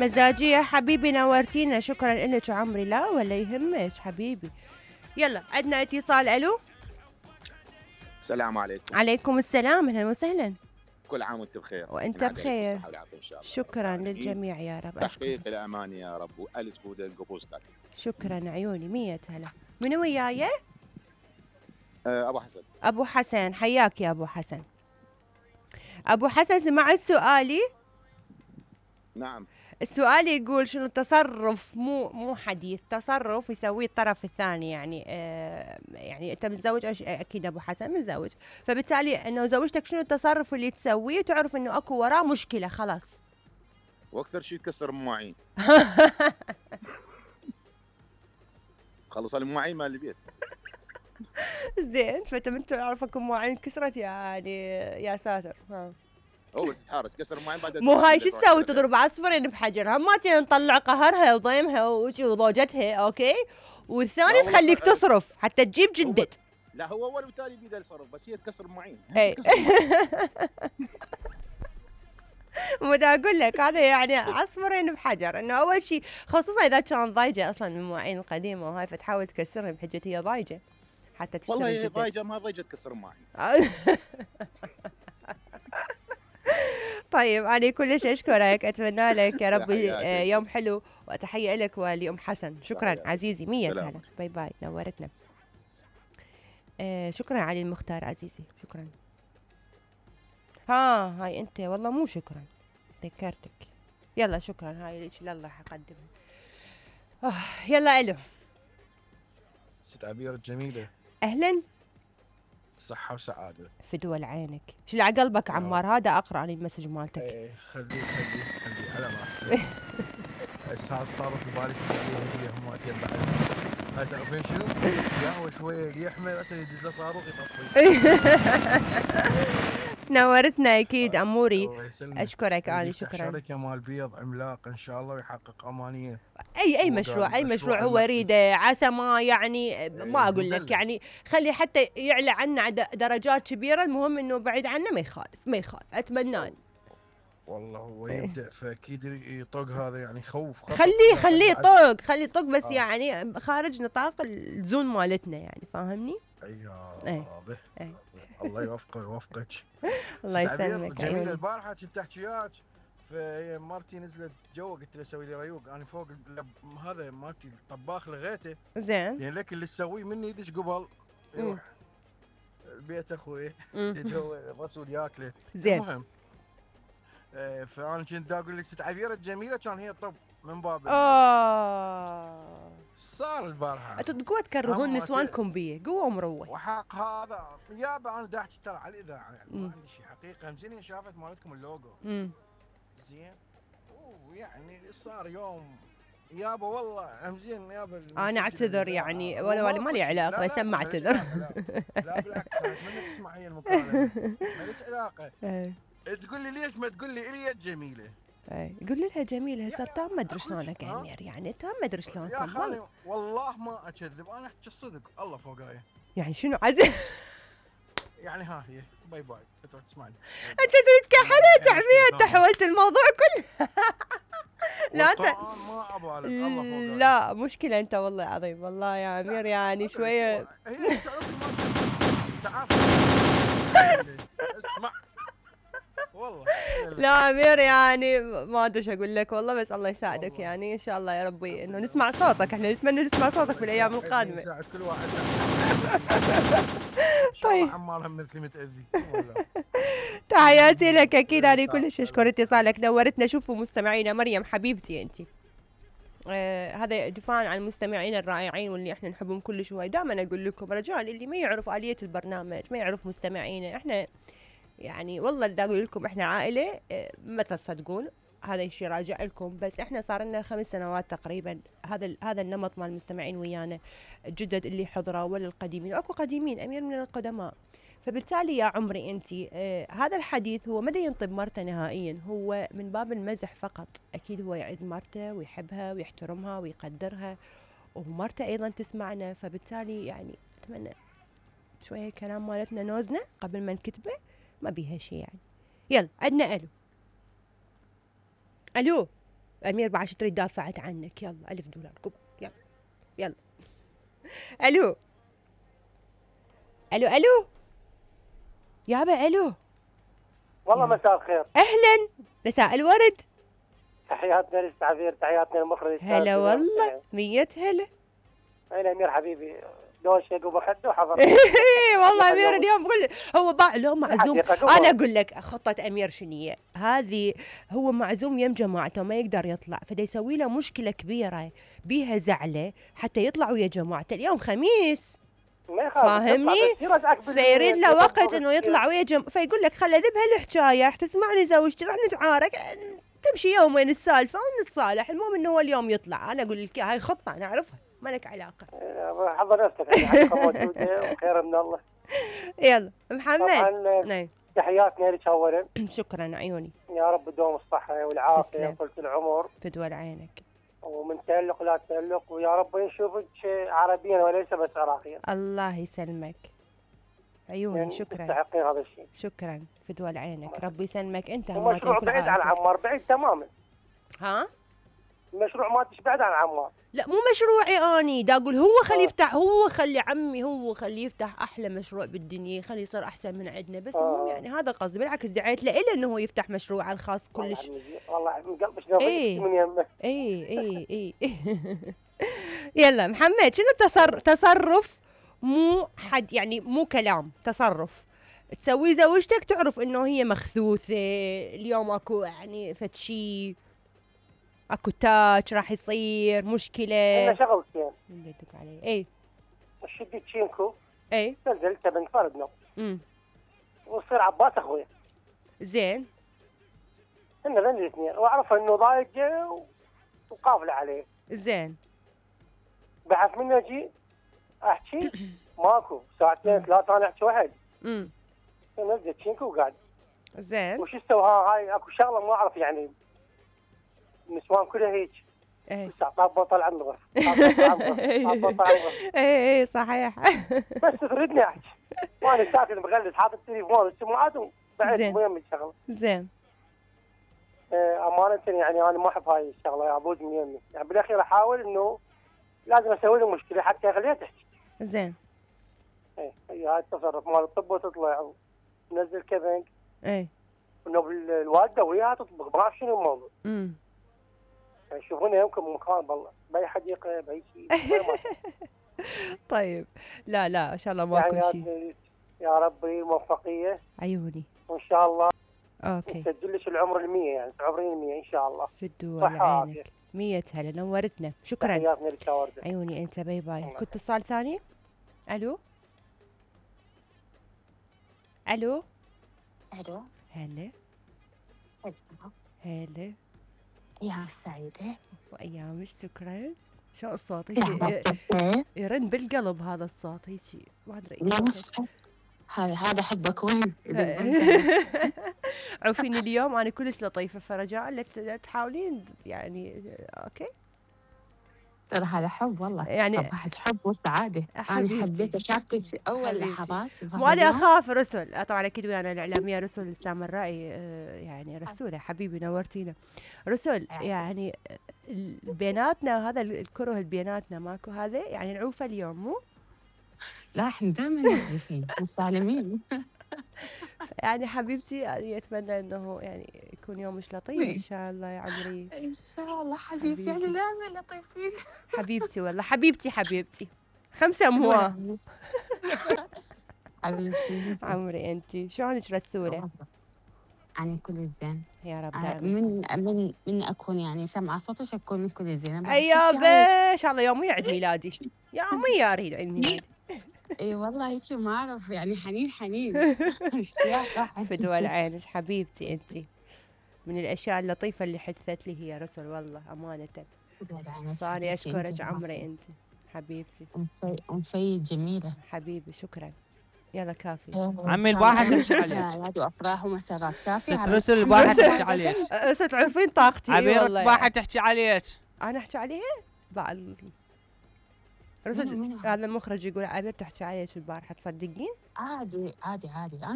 مزاجية حبيبي نورتينا، شكرا لك عمري. لا ولا يهمك حبيبي. يلا عندنا اتصال. الو السلام عليكم. عليكم السلام، اهلا وسهلا. كل عام وانت بخير. وانت بخير. ان شاء الله. شكرا للجميع يا رب. تحقيق الاماني يا رب والف بودن قبوستك. شكرا عيوني 100 هلا. منو وياي؟ ابو حسن. ابو حسن حياك يا ابو حسن. ابو حسن سمعت سؤالي؟ نعم. السؤال يقول شنو التصرف، مو حديث، تصرف يسويه الطرف الثاني، يعني يعني انت متزوج اكيد ابو حسن متزوج، فبالتالي انه زوجتك شنو التصرف اللي تسويه تعرف انه اكو وراه مشكله خلاص؟ واكثر شيء تكسر المواعين. خلص المواعين مال البيت. زين، فانت من تعرف اكو مواعين كسرت يعني يا ساتر. ها هو تتحارش كسر المواعين بعد. مو هاي شو تسوي؟ تضرب عصفورين بحجر، هم ما نطلع قهرها وضيمها وضوجتها اوكي، والثاني تخليك تصرف حتى تجيب جدد. لا هو اول وثاني بيده يصرف بس هي تكسر المواعين. ودا اقول لك هذا يعني عصفورين بحجر، انه اول شيء خصوصا اذا كان ضايجه اصلا من المواعين القديمه وهاي، فتحاول تكسرها بحجه هي ضايجه حتى تشتري والله جدد. ضايجه ما ضايجه تكسر المواعين. طيب أنا كلش أشكرك، أتمنى لك يا رب يوم حلو، وتحية لك ولأم حسن. شكرا عزيزي 100 هلا. باي باي نورتنا. شكرا علي المختار عزيزي، شكرا. هاي أنت والله مو شكرا، ذكرتك. يلا شكرا، هاي ليش لله حقدمها. يلا ألو ست عبير الجميلة، أهلا. صحة وسعادة. فدوى لعينك. شو على قلبك عمار؟ هذا أقرأ لي المسج مالتك. ايه خلي على ما صار في بالي هدية هم وقتين بعد. هاي تعرفين شنو؟ ياهو شوية اللي يحمل أصلا يدز له صاروخ يطفي. نورتنا أكيد أموري. أشكرك أنا. شكرا. شركة مال بيض عملاق إن شاء الله ويحقق أمانية. أي مشروع هو يريده، عسى ما يعني ما أقول لك يعني خلي حتى يعلى عنا درجات كبيرة، المهم إنه بعيد عنا ما يخالف أتمنى. والله هو يبدأ فأكيد يطق هذا يعني خوف. خليه يطق بس يعني خارج نطاق الزون مالتنا يعني، فاهمني؟ الله يوفقك. الله يسلمك. جميلة البارحة كنت تحكي وياك، فهي مرتي نزلت جوا قلت له سوي لي ريوق، انا فوق هذا مالتي الطباخ لغيته زين، يعني لك اللي تسويه مني يدش قبل يروح البيت اخوي جو الرسول ياكله زين. المهم فانا كنت اقول لك ست عبيره الجميله كان هي طب من باب صار البارحه انتوا تقوا تكرهون نسوانكم بيه قوه مروه وحق هذا يابا. انا داحت ترى على الاذاعه يعني ما عندي شيء حقيقه. زين شافت مالتكم اللوجو زين ويعني صار يوم يابا والله زين يابا. انا اعتذر يعني ولا ما لي علاقه، بس ما اعتذر. لا بالعكس من تسمع هي المكالمه ما لك علاقه. تقول لي ليش ما تقول لي الي جميله؟ قول لها جميله هسه تام ما ادري شلونك يا امير، يعني تام ما ادري شلونك يا خالي والله ما اكذب انا احكي الصدق الله فوقاي. يعني شنو عزيز؟ يعني ها هي باي باي تروح تسمعني. انت تريد كحلة تعمية، انت حولت الموضوع كله. لا انت ما ابالغ الله فوقاي. لا مشكلة انت والله عظيم والله يا امير يعني شوية. هي تعرف اسمع والله لا امير يعني ما ادري ايش اقول لك والله، بس الله يساعدك والله. يعني ان شاء الله يا ربي انه نسمع صوتك، احنا نتمنى نسمع صوتك في الايام القادمه. يساعد كل واحد. طيب عمار مثلي متاذي. تحياتي لك اكيد. انا كلش اشكر اتصالك نورتنا. شوفوا مستمعينا مريم حبيبتي انت هذا دفاعا عن المستمعين الرائعين واللي احنا نحبهم كلش هواي. دائما اقول لكم رجال اللي ما يعرف آلية البرنامج ما يعرف مستمعينا، احنا يعني والله بدي اقول لكم احنا عائله ما تصدقون هذا الشيء راجع لكم، بس احنا صار لنا 5 سنوات تقريبا هذا النمط مال المستمعين ويانا، الجدد اللي حضروا ولا القديمين، اكو قديمين امير من القدماء. فبالتالي يا عمري انت هذا الحديث هو ما ينطب مرته نهائيا، هو من باب المزح فقط. اكيد هو يعز مرته ويحبها ويحترمها ويقدرها، ومرته ايضا تسمعنا. فبالتالي يعني اتمنى شويه كلام مالتنا نوزنه قبل ما نكتبه، ما بيها شيء يعني. يلا عندنا الو امير بعد تريد دافعت عنك. يلا $1000 قبل. يلا يلا. الو الو الو يابا الو. والله مساء الخير. اهلا مساء الورد. تحياتنا للتعبير، تحياتنا للمخرج. هلا والله 100 هلا. اين امير حبيبي؟ لو شيء وبخده وحضر. والله امير اليوم بقول هو باع له معزوم. انا اقول لك خطه امير شنيه هذه، هو معزوم يم جماعته ما يقدر يطلع، فدا يسوي له مشكله كبيره بيها زعله حتى يطلع ويا جماعته. اليوم خميس فاهمني، فيريد له وقت انه يطلع ويا فيقول لك خل اذبها الحكايه تسمعني زوجتي راح نتعارك، تمشي يومين السالفه ونتصالح، المهم انه هو اليوم يطلع. انا اقول لك هاي خطه انا اعرفها ما لك علاقه. حضر نفسك يعني موجوده وخير من الله. يلا محمد. نعم تحياتنا لك اولا. شكرا عيوني. يا رب تدوم الصحه والعافيه وطولة العمر. فدول عينك. ومن تألق لا تألق، ويا رب نشوفك عربيا وليس بس عراقيا. الله يسلمك عيوني يعني شكرا. تستحقين هذا الشيء. شكرا فدول عينك. ربي يسلمك انت. المشروع بعيد عن عمار، بعيد تماما. ها؟ المشروع مالتش بعيد عن عمار. لا مو مشروعي اني دا اقول هو خليه يفتح، هو خلي عمي هو خليه يفتح احلى مشروع بالدنيا، خليه يصير احسن من عندنا، بس يعني هذا قصدي. بالعكس دعيت له انه هو يفتح مشروعه الخاص كلش. والله من قلبك نظيف من يمه. اي يلا محمد، شنو تصرف مو حد يعني مو كلام، تصرف تسويه زوجتك تعرف انه هي مخثوثه اليوم، اكو يعني فد شي، اكو تاتش راح يصير مشكله. انا شغلتين اللي يدق علي. اي شدي تشينكو. اي نزلت بنك فردنا. ويصير عباس اخويا. زين. احنا الاثنين واعرف انه ضايج وقافله عليه. زين. بحث مني اجي احكي ماكو ساعتين ثلاثه انا احكي واحد. نزلت تشينكو وقاعد. زين. وش استوى هاي اكو شغله ما اعرف يعني النسوان كلها هيك. ايه طاب بطل عن الغرف. ايه صحيح. بس تريدني احكي وانا ساكت مغلس حاطط التليفون والسماعات وبعد مهم الشغله. زين. امانه يعني انا ما احب هاي الشغله يا ابوي من يمي، يعني بالاخير احاول انه لازم اسوي له مشكله حتى اخليها تحكي. زين. ايه هي هاي التصرف مال الطب وتطلع ونزل كبنك. ايه انه الوالده وياها تطبخ ما اعرف شنو الموضوع. يعني يشوفونها يمكن مكان بالله باي حديقه باي شيء. طيب لا لا ان شاء الله ماكو شيء. يا ربي موفقيه عيوني وان شاء الله. اوكي نسجلش العمر ال100 يعني تعبرين 100 ان شاء الله. في الدول عينك 100 هلا نورتنا. شكرا تحياتنا لك يا ورده. عيوني انت. باي باي. كنت اتصال ثاني. الو الو الو هلا هلا. ايام سعيدة وايامك. شكرا. شو الصوت يرن بالقلب هذا الصوت هيجي ما ادري هذا حبك وين؟ عوفيني اليوم انا كلش لطيفه، فرجاء لا تحاولين يعني. اوكي ترى هذا حب والله يعني صباحك حب وسعاده. انا حبيت اشاركك اول لحظات. وانا اخاف رسل طبعا اكيد ويانا الاعلاميه رسل سامرائي يعني رسوله حبيبي نورتينا رسل. يعني بيناتنا هذا الكره بيناتنا ماكو هذا يعني نعوفه اليوم مو؟ لا احنا دائما متعرفين مسالمين. يعني حبيبتي يعني اتمنى انه يعني يكون يومك لطيف ان شاء الله يا عمري. ان شاء الله حبيبتي يعني دائما لطيفين. حبيبتي والله حبيبتي 5 امواه. حبيبتي عمري انت شلونك رسوله؟ أنا كل زين يا رب. من أكون يعني سمع صوتك أكون من كل زين. أيابا إن شاء الله يومي عيد ميلادي. يومي أريد عيد ميلادي. اي والله هيك ما اعرف يعني حنين اشتياق. في دول عينك حبيبتي انت. من الاشياء اللطيفه اللي حدثت لي هي رسل والله امانه. فاني اشكرك عمري انت حبيبتي. أنفي جميله حبيبي شكرا. يلا كافي. عمي الواحد تحكي عليك. هذو افراح ومسرات كافي. رسل الواحد تحكي عليك. تعرفين طاقتي عبيرك واحد تحكي عليك. انا احكي عليها؟ بعد رسل هذا المخرج يقول عبير تحكي عليك البارحه تصدقين؟ عادي